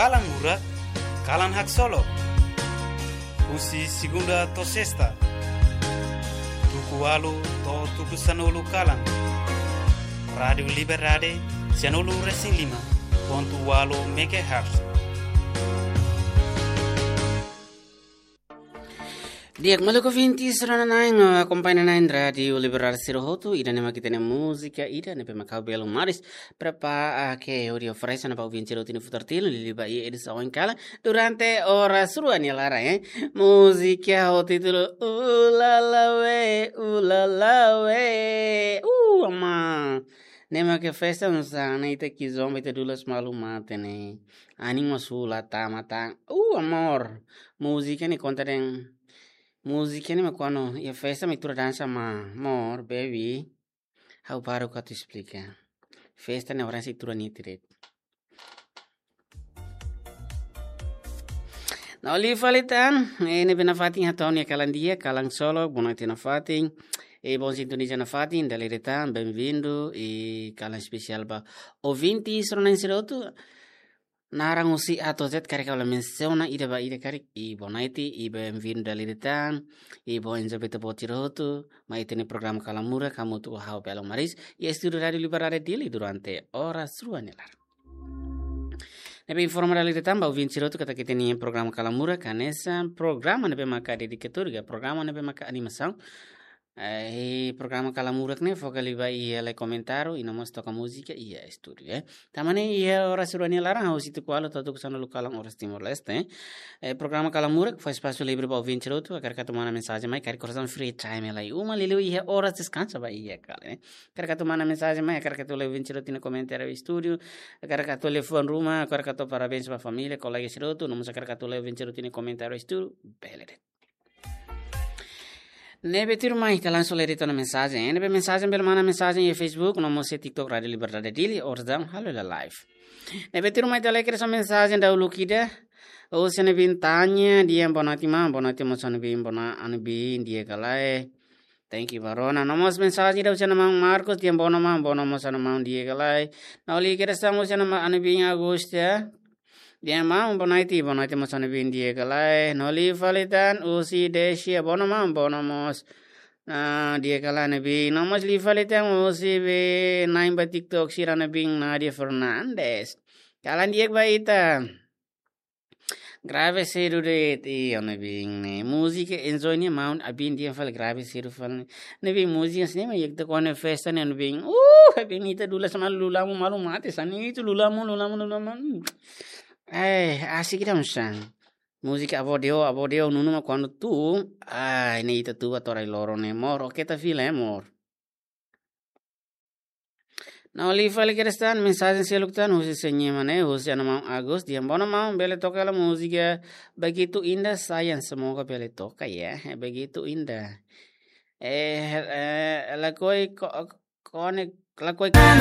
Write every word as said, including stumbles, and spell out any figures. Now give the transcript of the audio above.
Kalan Murak, kalan haksolok. Husi segunda to'o sesta, tuku ualu to'o tuku sanulu kalan. Rádiu Liberdade, sianulu resin lima pontu ualu megahertz. Di'ak, maluk ouvintes, rona-na'in, akompaña na'in Rádiu Liberdade sira hotu, ida-ne'e mak ita-nia múzika, ida-ne'ebé mak ha'u Belo Maris prepara, ah, ke hodi oferese ona ba ouvinte sira hotu nia futar tilu, liuliu ba iha edisaun ohin kalan, durante oras rua nia laran, eh. Múzika ho títulu Ulalawe, Ulalawe. Uh, ama. Ne'e mak iha festa, nusa, ne'e ita kizomba, ita dulas malu mate ne'e. Anin mós hula tama tan. Uh, amor. Múzika ne'e konta de'it. Múzika ne'e mak kuandu iha festa mak ita dansa mak, amor, baby. Ha'u baru atu esplika. Festa ne'e oras ita dansa diretu. No liu fali tan, eh, ne'ebé nafatin hato'o nia kalan di'ak, kalan solok, bonoite nafatin. Eh, bom sintoniza nafatin, dala ida tan, bem-vindo, i kalan espesiál ba ouvinte sira-ne'e sira hotu. Naran husi A to'o Z karik ha'u la mensiona ida ba ida karik, i bonoite, i bem-vindo dala ida tan, i bom enjoy ba ita-boot sira hotu, mai ita-nia programa Kalan Murak, hamutuk ho ha'u Belo Maris, iha estúdiu Rádiu Liberdade Dili durante oras rua nia laran. Ne'ebé informa dala ida tan ba ouvinte sira hotu katak ita-nia programa Kalan Murak hanesan programa ne'ebé maka dedikatóriu, programa ne'ebé maka animasaun. Eh, programa Kalan Murak ne'e foka liu ba iha lee komentáriu, i no mós toka múzika iha estúdiu, eh. Tanba ne'e iha oras rua nia laran, husi tuku ualu to'o tuku sanulu kalan oras Timor-Leste, eh. Eh, programa Kalan Murak fó espasu livre ba ouvinte sira hotu, hakarak atu manda mensajen mai, karik oras free time lai uma, liuliu iha oras deskansa ba iha kalan, eh. Hakarak atu manda mensajen mai, hakarak atu lee ouvinte sira hotu nia komentáriu estúdiu, hakarak atu liafuan ruma, hakarak atu parabéns ba família, kolega sira hotu, no mós hakarak atu lee ouvinte sira hotu nia komentáriu estúdiu, bele de'it. Ne'ebé tuirmai, ita langsung lee de'it ona mensajen. Ne'ebé mensajen bele manda mensajen iha Facebook, no mós iha TikTok Rádiu Liberdade Dili, oras daudaun halo hela live. Ne'ebé tuirmai ita lee kedas mensajen dahuluk ida. Husi Ana Bin Tanya, di'ak bonoite maun, bonoite mós Ana Bin, bona Ana Bin, di'ak ka lae. Thank you, Barona. No mós mensajen ida husi Ana Maun Marcos, di'ak bonoite maun, bonoite mós Ana Maun, di'ak ka lae. No liu kedas tan husi Ana Ma-, Ana Bin Augusta. Di'ak maun, bonoite, bonoite mós Ana Bin, di'ak ka lae. No liu fali tan husi Desia, bonoite maun, bonoite mós. Ah, di'ak ka lae Ana Bin. No mós liu fali tan husi be nain ba TikTok sira Ana Bin, Nadia Fernandes. Kalan di'ak ba ita. Grave sedu de'it, i Ana Bin ne'e. Múzika enjoy ne'e maun, Ana Bin di'ak fali grave sedu fali. Ana Bin múzika sini ma yek te kone festa ne'e Ana Bin. Uh, Ana Bin ita dulas malu lulamu malu mate, sani itu lulamu, lulamu, lulamu. Eh, asik ida musang. Múzika Avó Deo, Avó Deo, nunu ma kuandu tu, ai, ne'e ita tu ba to'o rai loron ne'e, amor, oke ta fila, eh, amor. No liu fali kedas tan, mensajen seluk tan, husi Senyema ne'e, husi Ana Maun Agus, di'ak bonoite maun, bele toka hela múzika Begitu Indah Sayang, semoga bele toka ya, Begitu Indah. Eh, eh, lakohi ko-, kone, lakohi